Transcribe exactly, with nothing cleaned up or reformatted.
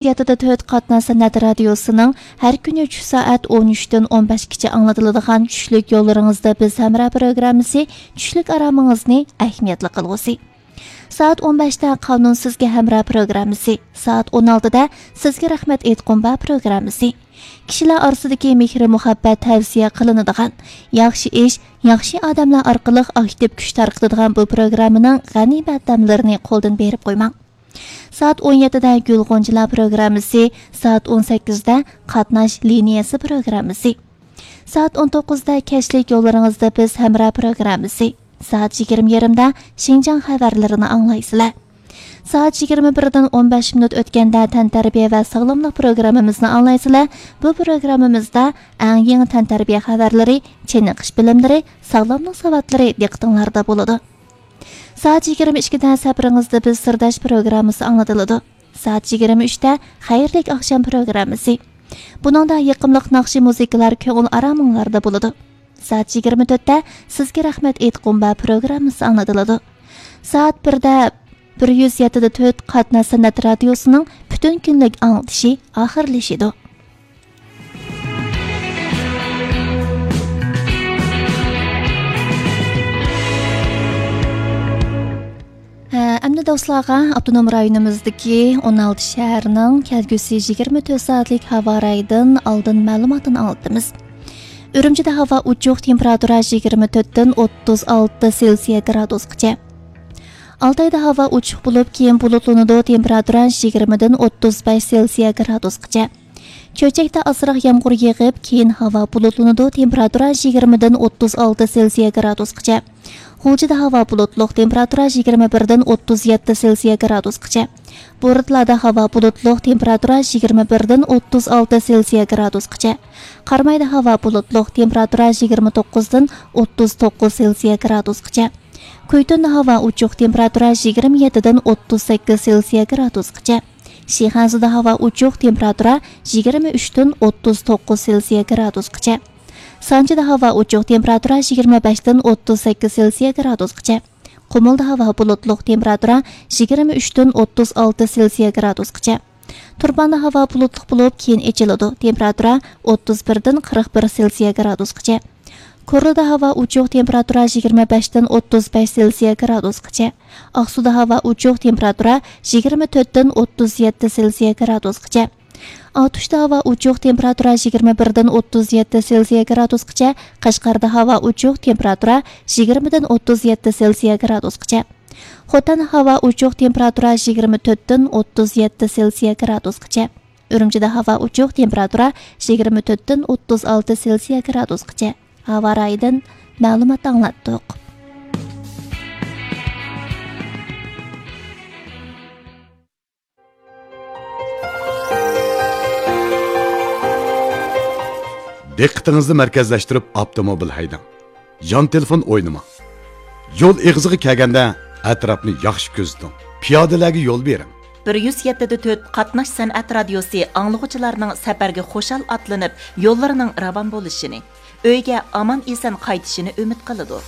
يەتتە تۆت قاتناش سەنئەت رادىيوسىنىڭ ھەر كۈنى چۈش سائەت ئون ئۈچتىن ئون بەشكىچە ئاڭلىتىلىدىغان چۈشلۈك يوللىرىڭىزدا بىز ھەمراھ پروگراممىسى چۈشلۈك ئارامىڭىزنى ئەھمىيەتلىك قىلغۇسى. سائەت ئون بەشتە قانۇن سىزگە ھەمراھ پروگراممىسى، سائەت ئون ئالتىدا سىزگە رەھمەت ئېيتقۇم بار پروگراممىسى. كىشىلەر ئارىسىدىكى مېھرى مۇھەببەت تەۋسىيە قىلىنىدىغان، ياخشى ئىش، ياخشى ئادەملەر ئارقىلىق ئاكتىپ كۈچ تارقىتىدىغان بۇ پروگراممىنىڭ غەنىيمەت دەملىرىنى قولدىن بېرىپ قويماڭ. سائەت ئون يەتتىدە گۈل غۇنچىلار پروگراممىسى، سائەت ئون سەككىزدە قاتناش لىنىيەسى پروگراممىسى، سائەت ئون توققۇزدا كەچلىك يوللىرىڭىزدا بىز ھەمراھ پروگراممىسى، سائەت يىگىرمە يېرىمدا شىنجاڭ خەۋەرلىرىنى ئاڭلايسىلەر. سائەت يىگىرمە بىردىن ئون بەش مىنۇت ئۆتكەندە تەنتەربىيە ۋە ساغلاملىق پروگراممىمىزنى ئاڭلايسىلەر. بۇ پروگراممىمىزدا ئەڭ يېڭى تەنتەربىيە خەۋەرلىرى، چېنىقىش بىلىملىرى، ساغلاملىق ساۋاتلىرى دىققىتىڭلاردا بولىدۇ. سائەت يىگىرمە ئىككىدە سەپىرىڭىزدە بىز سىرداش پروگراممىسى ئاڭلىتىلىدۇ. سائەت يىگىرمە ئۈچتە خەيرلىك ئاخشام پروگراممىسى. بۇنىڭدا يېقىملىق ناخشا مۇزىكىلار كۆڭۈل ئارامىڭلاردا بولىدۇ. سائەت يىگىرمە تۆتتە سىزگە رەھمەت ئېيتقۇم بار پروگراممىسى ئاڭلىتىلىدۇ. سائەت بىردە بىر يۈز يەتتە تۆت قاتناش سەنئەت رادىيوسىنىڭ پۈتۈن كۈنلۈك ئاڭلىتىشى ئاخىرلىشىدۇ. ھە، ئەمدى دوستلارغا ئاپتونوم رايونىمىزدىكى ئون ئالتە شەھەرنىڭ كەلگۈسى يىگىرمە تۆت سائەتلىك ھاۋا رايىدىن ئالدىن مەلۇماتىنى ئاڭلىتىمىز. ئۈرۈمچىدە ھاۋا ئوچۇق، تېمپېراتۇرا يىگىرمە تۆتتىن ئوتتۇز ئالتە سېلسىيە گرادۇسقىچە. ئالتايدا ھاۋا ئوچۇق بولۇپ، كېيىن بۇلۇتلىنىدۇ، تېمپېراتۇرا يىگىرمىدىن ئوتتۇز بەش سېلسىيە گرادۇسقىچە. چۆچەكتە ئازراق يامغۇر يېغىپ، كېيىن ھاۋا بۇلۇتلىنىدۇ، تېمپېراتۇرا يىگىرمىدىن ئوتتۇز ئالتە سېلسىيە گرادۇسقىچە. غۇلجىدا ھاۋا بۇلۇتلۇق، تېمپېراتۇرا يىگىرمە بىردىن ئوتتۇز يەتتە سېلسىيە گرادۇسقىچە. بورتالادا ھاۋا بۇلۇتلۇق، تېمپېراتۇرا يىگىرمە بىردىن ئوتتۇز ئالتە سېلسىيە گرادۇسقىچە. قارامايدا ھاۋا بۇلۇتلۇق، تېمپېراتۇرا يىگىرمە توققۇزدىن ئوتتۇز توققۇز سېلسىيە گرادۇسقىچە. كۈيتۇندا ھاۋا ئوچۇق، تېمپېراتۇرا يىگىرمە يەتتىدىن ئوتتۇز سەككىز سېلسىيە گرادۇسقىچە. شىخەنزىدە ھاۋا ئوچۇق، تېمپېراتۇرا يىگىرمە ئۈچتىن ئوتتۇز توققۇز سېلسىيە گرادۇسقىچە. سانجىدا ھاۋا ئوچۇق، تېمپېراتۇرا يىگىرمە بەشتىن ئوتتۇز سەككىز سېلسىيە گرادۇسقىچە. قۇمۇلدا ھاۋا بۇلۇتلۇق، تېمپېراتۇرا يىگىرمە ئۈچتىن ئوتتۇز ئالتە سېلسىيە گرادۇسقىچە. تۇرپاندا ھاۋا بۇلۇتلۇق بولۇپ، كېيىن ئېچىلىدۇ، تېمپېراتۇرا ئوتتۇز بىردىن قىرىق بىر سېلسىيە گرادۇسقىچە. كورلىدا ھاۋا ئوچۇق، تېمپېراتۇرا يىگىرمە بەشتىن ئوتتۇز بەش سېلسىيە گرادۇسقىچە. ئاقسۇدا ھاۋا ئوچۇق، تېمپېراتۇرا يىگىرمە تۆتتىن ئوتتۇز يەتتە سېلسىيە گرادۇسقىچە. ئاتۇشتا ھاۋا ئوچۇق، تېمپېراتۇرا يىگىرمە بىردىن ئوتتۇز يەتتە سېلسىيە گرادۇسقىچە. قەشقەردە ھاۋا ئوچۇق، تېمپېراتۇرا يىگىرمىدىن ئوتتۇز يەتتە سېلسىيە گرادۇسقىچە. خوتەندە ھاۋا ئوچۇق، تېمپېراتۇرا يىگىرمە تۆتتىن ئوتتۇز يەتتە سېلسىيە گرادۇسقىچە. ئۈرۈمچىدە ھاۋا ئوچۇق، تېمپېراتۇرا يىگىرمە تۆتتىن ئوتتۇز ئالتە سېلسىيە گرادۇسقىچە. ھاۋا رايىدىن مەلۇمات ئاڭلاتتۇق. دىققىتىڭىزنى مەركەزلەشتۈرۈپ ئاپتوموبىل ھەيدەڭ. يان تېلېفون ئوينىماڭ. يول ئېغىزىغا كەلگەندە ئەتراپنى ياخشى كۆزىتىڭ. پىيادىلەرگە يول بېرىڭ. بىر يۈز يەتتە تۆت قاتناش سەنئەت رادىيوسى ئاڭلىغۇچىلارنىڭ سەپەرگە خۇشال ئاتلىنىپ، يوللىرىنىڭ راۋان بولۇشىنى، ئۆيگە ئامان-ئېسەن قايتىشىنى ئۈمىد قىلىدۇ.